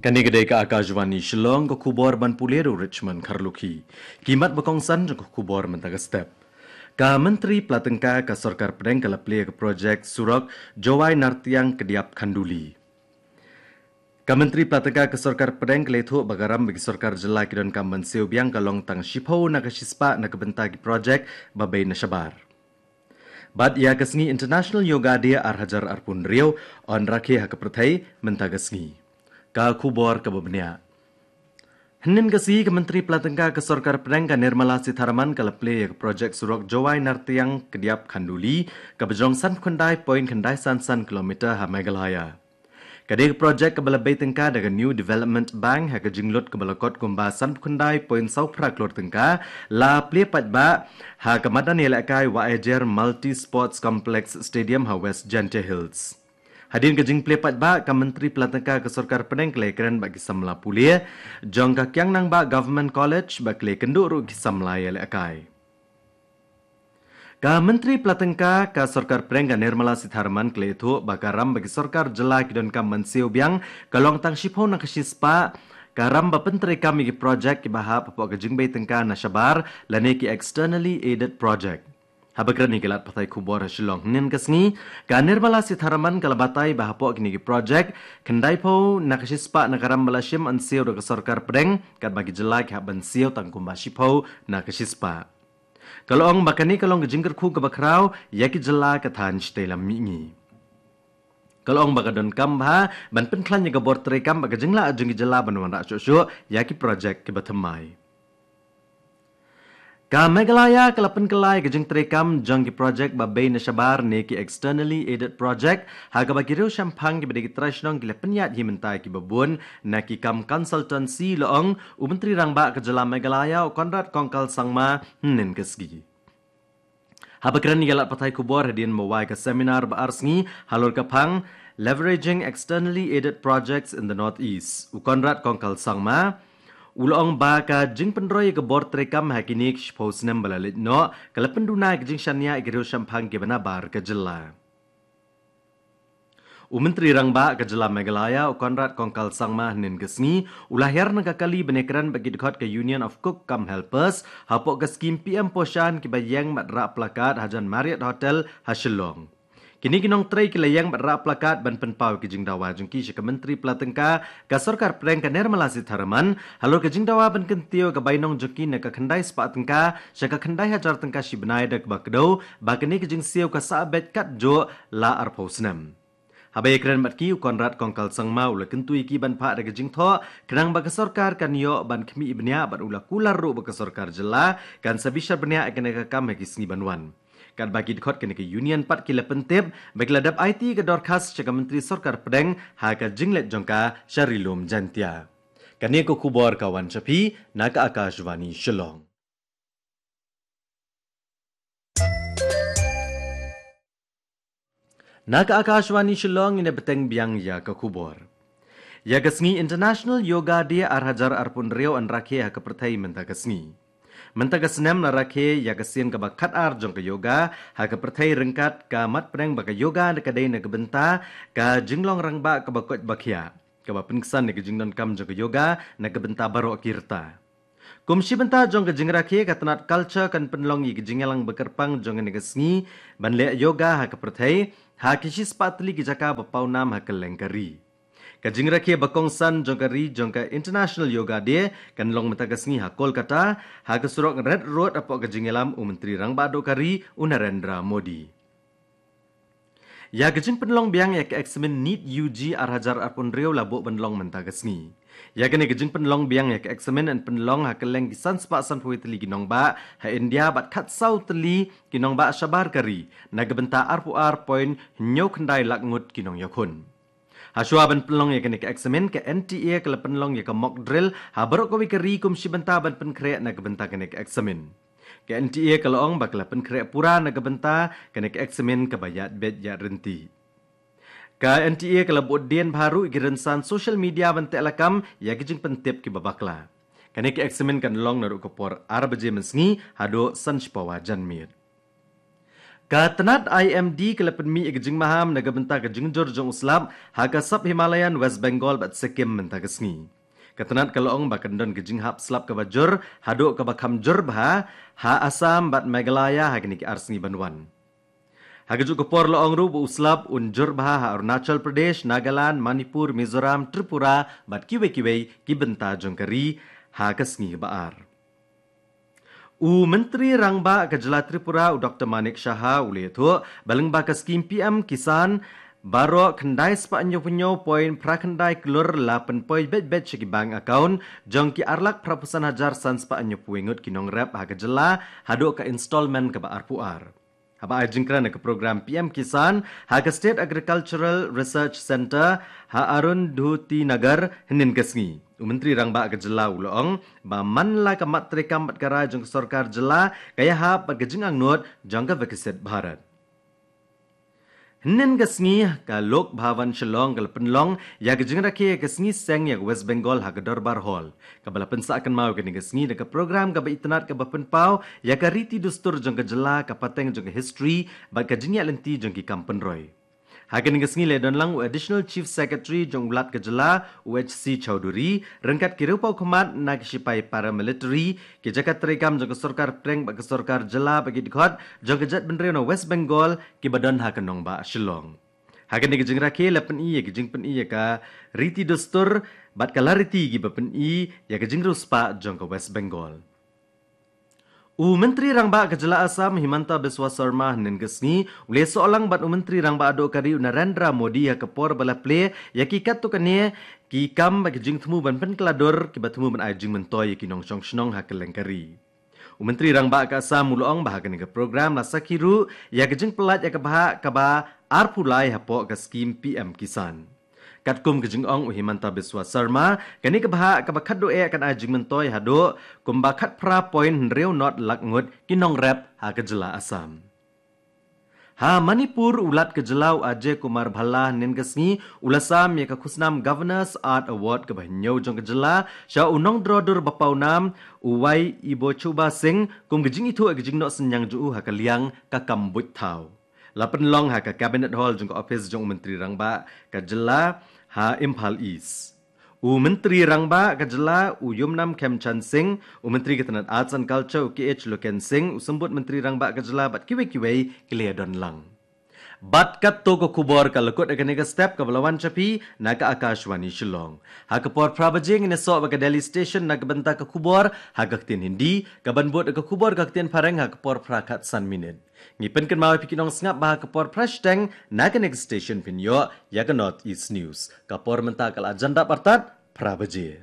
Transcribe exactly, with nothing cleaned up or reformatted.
Kane ka dei ka Akashvani Shillong, ka khubor ban pule da u Richmond Kharlukhi. Ki mat ba kongsan jong ka khubor mynta ka step. Ka Myntri Pla Tyngka ka Sorkar Pdeng ka la plie ka projek surok Jowai Nartiang Kdiap Khanduli. Ka Myntri Pla Tyngka ka Sorkar Pdeng ka la ïathuh ba ka ram ba ki sorkar jylla ki donkam ban siew biang ka long tang shiphew na ka shispah na ka bynta ki projek ba bei na shabar. Bad ïa ka sngi International Yoga Day ar hajar arphew hynriew yn rakhe ha ka pyrthei mynta ka sngi. Ka khubor kaba bniah. Hynnin ka sngi ka Myntri Pla Tyngka ka Sorkar Pdeng ka Nirmala Sitharaman ka la plie ïa ka projek surok Jowai Nartiang Kdiap Khanduli kaba jrong sanphew khyndai point khyndai san san kilometer ha Meghalaya. Ka dei ka projek kaba la bei tyngka da ka New Development Bank ha ka jinglut kaba la kot kumba sanphew khyndai point saw phra klur tyngka, la plie paidbah ha ka madan ïalehkai Wahiajer Multi Sports Complex Stadium ha West Jaintia Hills. Hadien ka jingplie paidbah, ka Myntri Pla Tyngka ka Sorkar Pdeng ka la ïakren bad ki samla pule jong ka Kiang Nangbah Government College bad ka la ïakynduh ruh ki samla ïalehkai. Ka Myntri Pla Tyngka ka Sorkar Pdeng ka Nirmala Sitharaman ka la ïathuh ba ka ram ba ki sorkar jylla ki donkam ban siew biang ka long tang shiphew na ka shispah ka ram ba pyntreikam ïa ki projek kiba hap hapoh ka jingbei tyngka na shabar lane ki externally aided project. Haba kren ïa ki lad pathai khubor ha Shillong hynnin ka sngi, ka Nirmala Sitharaman ka la batai ba hapoh kine ki projek, khyndaiphew na ka shispah na ka ram ba la shim yn siew da ka Sorkar Pdeng, katba ki jylla ki hap ban siew tang kumba shiphew na ka shispah. Ka la ong ba kane ka long ka jingkyrkhu kaba khraw ïa ki jylla ka thaiñ shatei lam mihngi. Ka la ong ba ka donkam bha ban pynkhlaiñ ïa ka bor treikam bad ka jinglah jong ki jylla ban wanrah shuh shuh ïa ki projek kiba thymmai. Ka Meghalaya ka la pynkylla ïa ka jingtreikam jong ki projek ba bei na shabar ne ki externally aided project, ha kaba ki riewshemphang kiba dei ki trai shnong ki la pynïaid hi mynta ïa kiba bun na ki kam consultancy, la ong u Myntri Rangbah ka jylla Meghalaya u Conrad Kongkal Sangma hynnin ka sngi. Haba kren ïa ki lad pathai khubor hadien ba wai ka seminar ba ar sngi halor ka phang Leveraging Externally Aided Projects in the Northeast, u Conrad Kongkal Sangma u la ong ba ka jingpynroi ïa ka bor treikam ha kine ki shiphew snem ba la leit noh ka la pynduna ïa ka jingshaniah ïa ki riewshemphang kiba nabar ka jylla. U Myntri Rangbah ka jylla Meghalaya u Conrad Kongkal Sangma hynnin ka sngi u la hiar na ka kali ban ïakren bad ki dkhot ka Union of Cook cum Helpers hapoh ka skim P M Poshan kiba ïeng bad rah placard hajan Marriott Hotel ha Shillong. Kine ki nongtrei ki la ïeng bad rah placard ban pynpaw ïa ki jingdawa jong ki sha ka Myntri Pla Tyngka ka Sorkar Pdeng ka Nirmala Sitharaman halor ka jingdawa ban kyntiew ïa ka bainong jong ki na ka khyndai spah tyngka sha ka khyndai hajar tyngka shi bnai da kaba kdew ba kane ka jingsiew ka sah beit katjuh la arphew snem. Haba ïakren bad ki, u Conrad Kongkal Sangma u la kyntu ïa ki ban phah da ka jingthoh khnang ba ka sorkar kan ïoh ban khmih bniah bad u la kular ruh ba ka sorkar jylla kan sa bishar bniah ïa kane ka kam ha ki sngi ban wan. Katba ki dkhot kane ka union pat ki la pyntip ba ki la dep aiti ïa ka dorkhas sha ka Myntri Sorkar Pdeng ha ka jingleit jong ka sha Ri Lum Jaintia. Kane ka khubor ka wan sha phi na ka Akashvani Shillong. Na ka Akashvani Shillong, ngin ïa bteng biang ïa ka khubor. Ïa ka sngi International Yoga Day ar hajar arphew hynriew yn rakhe ha ka pyrthei mynta ka sngi. Mynta ka snem la rakhe ïa ka sien kaba khatar jong ka yoga ha ka pyrthei ryngkat ka mat pdeng ba ka yoga ka dei na ka bynta ka jinglong rangbah kaba koit ba khiah, kaba pynksan ïa ka jingdonkam jong ka yoga na ka bynta baroh ki rta. Kum shi bynta jong ka jingrakhe, ka tnat Culture kan pynlong ïa ka jingïalang ba kyrpang jong kane ka sngi ban leh yoga ha ka pyrthei ha ki shispah tylli ki jaka ba pawnam ha kylleng ka ri. Ka jingrakhe ba kongsan jong ka ri jong ka International Yoga Day kan long mynta ka sngi ha Kolkata, ha ka surok Red Road, hapoh ka jingïalam u Myntri Rangbah Duh ka ri u Narendra Modi. Ïa ka jingpynlong biang ïa ka eksamin NEET U G ar hajar arphew hynriew la buh ban long mynta ka sngi. Ïa kane ka jingpynlong biang ïa ka eksamin yn pynlong ha kylleng ki san spah sanphew tylli ki nongbah ha India bad khatsaw tylli ki nongbah shabar ka ri na ka bynta arphew ar point hynñiew khyndai lak ngut ki nongïakhun. Ha shuwa ban pynlong ïa kane ka eksamin, ka N T A ka la pynlong ïa ka mock drill ha baroh kawei ka ri kum shi bynta ban pynkhreh na ka bynta kane ka eksamin. Ka N T A ka la ong ba ka la pynkhreh pura na ka bynta kane ka eksamin kaba ïaid beit ïaid ryntih. Ka N T A ka la buh dien bha ruh ïa ki rynsan social media ban teh lakam ïa ki jingpyntip kiba bakla. Kane ka eksamin kan long naduh ka por ar baje mynsngi haduh san shi pawa janmiet. Ka tnat I M D ka la pynmih ïa ka jingmaham na ka bynta ka jingjur jong u slap ha ka sub Himalayan West Bengal bad Sikkim mynta ka sngi. Ka tnat ka la ong ba kan don ka jinghap slap kaba jur haduh kaba kham jur bha ha Assam bad Meghalaya ha kine ki ar sngi ban wan. Ha kajuh ka por la ong ruh ba u slap un jur bha ha Arunachal Pradesh, Nagaland, Manipur, Mizoram, Tripura bad kiwei kiwei ki bynta jong ka ri ha ka sngi ba ar. U Myntri Rangbah ka jylla Tripura, u Doktor Manik Saha, u la ïathuh ba lyngba ka skim P M Kisan, baroh khyndai spah hynñiew phew hynñiew point phra khyndai klur la pynpoi beit beit sha ki bank account jong ki ar lak phra phew san hajar san spah hynñiew phew wei ngut ki nongrep ha ka jylla haduh ka installment kaba arphew ar. Haba ai jingkren ha ka program P M Kisan ha ka State Agricultural Research Centre ha Arundhutinagar hynnin ka sngi, u Myntri Rangbah ka jylla u la ong ba man la ka mat treikam bad ka rai jong ka sorkar jylla ka ïahap bad ka jingangnud jong ka Viksit Bharat. Hynnin ka sngi, ka Lok Bhavan Shillong ka la pynlong ïa ka jingrakhe ïa ka sngi seng ïa ka West Bengal ha ka Dorbar Hall, kaba la pynsah kynmaw ïa kane ka sngi da ka program kaba itynnad kaba pynpaw ïa ka riti dustur jong ka jylla, ka pateng jong ka history bad ka jingïaid lynti jong ki kam pynroi. Ha kane ka sngi la don lang u Additional Chief Secretary jong u Lat ka jylla, u H C Chowdhury, ryngkat ki riewpawkhmat na ki shipai paramilitary, ki jaka treikam jong ka sorkar pdeng bad ka sorkar jylla bad ki dkhot jong ka jaitbynriew na West Bengal kiba don ha ka nongbah Shillong. Ha kane ka jingrakhe la pyni ïa ka jingpyni ïa ka riti dustur bad ka lariti kiba pyni ïa ka jingriewspah jong ka West Bengal. U Myntri Rangbah ka jylla Assam, Himanta Biswa Sarma, hynnin ka sngi u la ïasoh lang bad u Myntri Rangbah duh ka ri, u Narendra Modi, ha ka por ba la plie ïa ki katto katne ki kam bad ki jingthmu ban pynkylla dur kiba thmu ban ai jingmyntoi ïa ki nongshong shnong ha kylleng ka ri. U Myntri Rangbah ka Assam u la ong ba ha kane ka program la sakhi ruh ïa ka jingpyllait ïa ka bhah kaba arphew lai hapoh ka skim P M Kisan. Katkum ka jingong u Himanta Biswa Sarma, kane ka bhah kaba khatduh eh kan ai jingmyntoi haduh kumba khatphra point hynriew not lak ngut ki nongrep ha ka jylla Assam. Ha Manipur, u Lat ka jylla, u Ajay Kumar Bhalla, hynnin ka sngi u la sam ïa ka khusnam Governor's Art Award kaba hynñiew jong ka jylla sha u nongdro dur ba pawnam, u Y Ibochuba Singh, kum ka jingithuh ïa ka jingnoh synñiang jong u ha ka liang ka kam buit thaw. La pynlong ha ka Cabinet Hall jong ka ophis jong u Myntri Rangbah ka jylla ha Imphal East. U Myntri Rangbah ka jylla, u Yumnam Khemchand Singh, u Myntri ka tnat Arts and Culture, u K H Loken Singh, u Symbud Myntri Rangbah ka jylla bad kiwei kiwei ki la ïadon lang. Bad katto ka khubor ka la kut ha kane ka step kaba la wan sha phi na ka Akashvani Shillong. Ha ka por phra baje ngin ïasoh bad ka Delhi Station na ka bynta ka khubor ha ka ktien Hindi, kaban bud ka khubor ka ktien Phareng ha ka por phra khatsan minit. Ngi pynkynmaw ïa phi ki nongsngap ba ha ka por phra shiteng na kane ka station phin ïoh ïa ka North East News. Ka por mynta ka la jan dap artat phra baje.